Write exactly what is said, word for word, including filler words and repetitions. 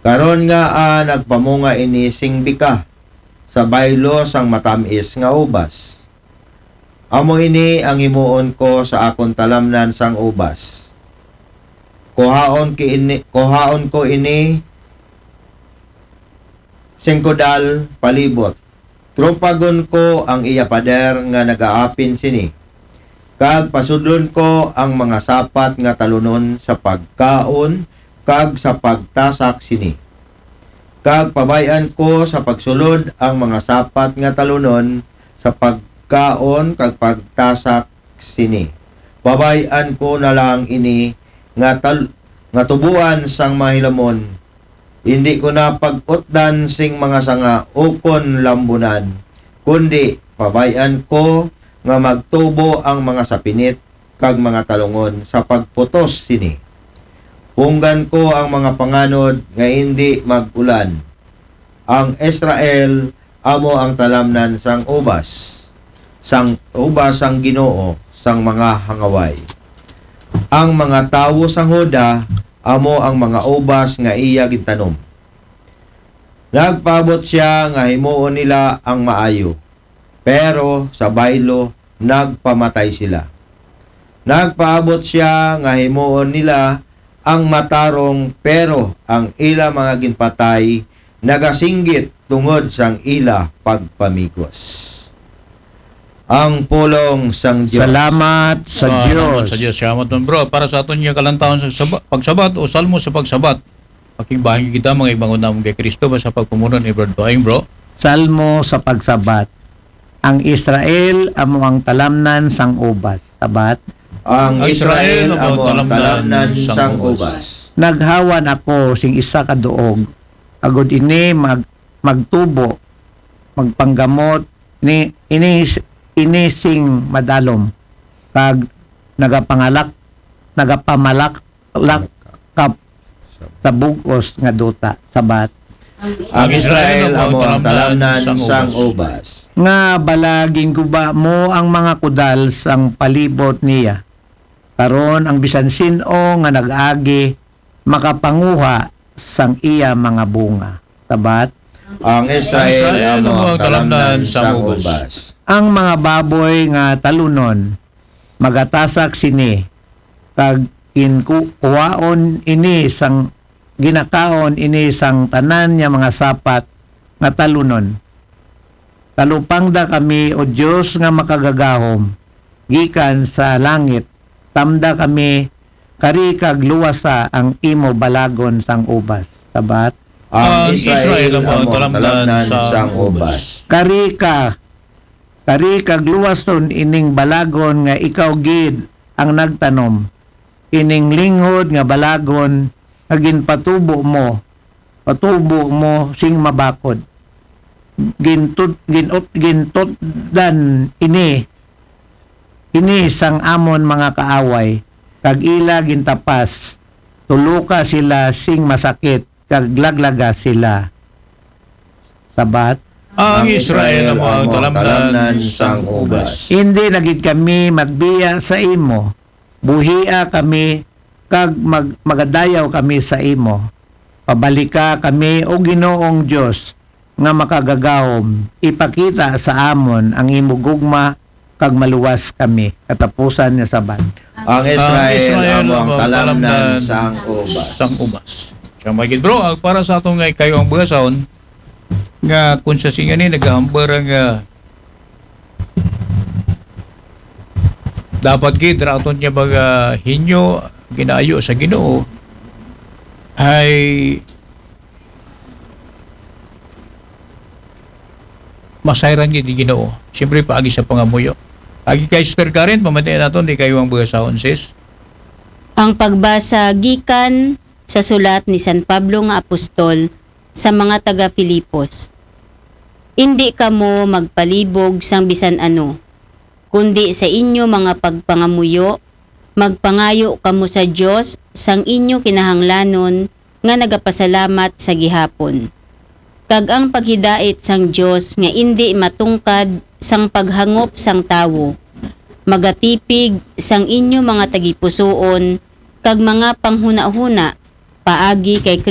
Karon nga, ah, nagpamunga ini sing bika sa baylo sang matam-is nga ubas. Amo ini ang himuon ko sa akon talamnan sang ubas. Kuhaon ki ini, kuhaon ko ini sing kudal palibot. Trumpagon ko ang iya pader nga nagaapin sini, kag pasudlon ko ang mga sapat nga talunon sa pagkaon kag sa pagtasak sini. Kag pabay-an ko sa pagsulod ang mga sapat nga talunon sa pagkaon kag pagtasak sini. Pabay-an ko na lang ini nga tal-, nga tubuan sang mahilamon. Indi ko na pag-utdan sing mga sanga ukon lambunan, kundi pabay-an ko nga magtubo ang mga sapinit kag mga talungon sa pagputos sini. Punggan ko ang mga panganod nga indi mag-ulan. Ang Israel amo ang talamnan sang ubas, sang ubas sang Ginoo sang mga hangaway. Ang mga tawo sang Juda amo ang mga ubas nga iya gintanom. Nagpaabot sia nga himuon nila ang maayo, pero sa baylo nagpamatay sila. Nagpaabot sia nga himuon nila ang matarong, pero ang ila mga ginpatay nagasinggit tungod sang ila pagpamigos. Ang pulong sang Dios. Salamat sa Salamat Dios. sa Dios. Salamat man, bro. Para sa aton nga kalantawon sa saba-, pagsabat o salmo sa pagsabat, pakigbahin kita, mga igbangon namon kay Kristo, sa pagpamuno ni Brad Tuhaing, bro. Salmo sa pagsabat. Ang Israel amo ang talamnan sang ubas. Sabat. Ang Israel amo ang talamnan sang ubas. Naghawan ako sing isa ka duog, agod ini mag-, magtubo, magpanggamot ni ini, ini sing madalom, kag nagapangalak, nagapamalak, lak-, kap sa bug-os nga duta. Sabat. Ang Israel amo ang talamnan sang ubas. Nga bala ginguba mo ang mga kudal sang palibot niya. Karon ang bisan sin-o nga nag-agi makapanguha sang iya mga bunga. Sabat. Ang Israel amo ang talamnan sang ubas. Ang mga baboy nga talunon magatasak sini, kag ginkuhaon ini sang, ginakaon ini sang tanan nga mga sapat nga talunon. Talupangda kami, O Dios nga makagagahom, gikan sa langit, tamda kami, kari kag luwasa ang imo balagon sang ubas. Sabat. Ang Israel amo ang talamnan sang ubas. Kari ka, kari kag luwason ining balagon nga ikaw gid ang nagtanom, ining linghod nga balagon nga ginpatubo mo, patubo mo sing mabakod. Gintud-, ginut-, gintutdan ini, ini sang amon mga kaaway, kag ila gintapas. Tuloka sila sing masakit, kag laglaga sila. Sabat. Ang Israel amo ang talamnan sang ubas. Indi na gid kami magbiya sa imo. Buhia kami, kag mag-, magadayaw kami sa imo. Pabalika kami, O Ginoong Dios nga makagagahom, ipakita sa amon ang imo gugma, kag maluwas kami. Katapusan nga sabat. Ang Israel amo ang talamnan sang ubas. Sang ubas. Siya, mga gid, bro, ang para sa aton nga ikayo ang buhason, nga kung sa singa ni nagahambal nga dapat gid ra aton nga mga hinyo ginaayo sa Ginoo ay masayran gid ni Ginoo. Siyempre, paagi sa pangamuyo. Agi kay Sister Karen, pamatian naton, di kayo ang buhason, sis. Ang pagbasa gikan sa sulat ni San Pablo nga apostol sa mga taga-Filipos. Indi kamo magpalibog sang bisan ano, kundi sa inyo mga pagpangamuyo, magpangayo kamo sa Dios sang inyo kinahanglanon nga nagapasalamat sa gihapon. Kag ang paghidait sang Dios nga indi matungkad sang paghangop sang tawo, magatipig sang inyo mga tagipusoon kag mga panghunahuna paagi kay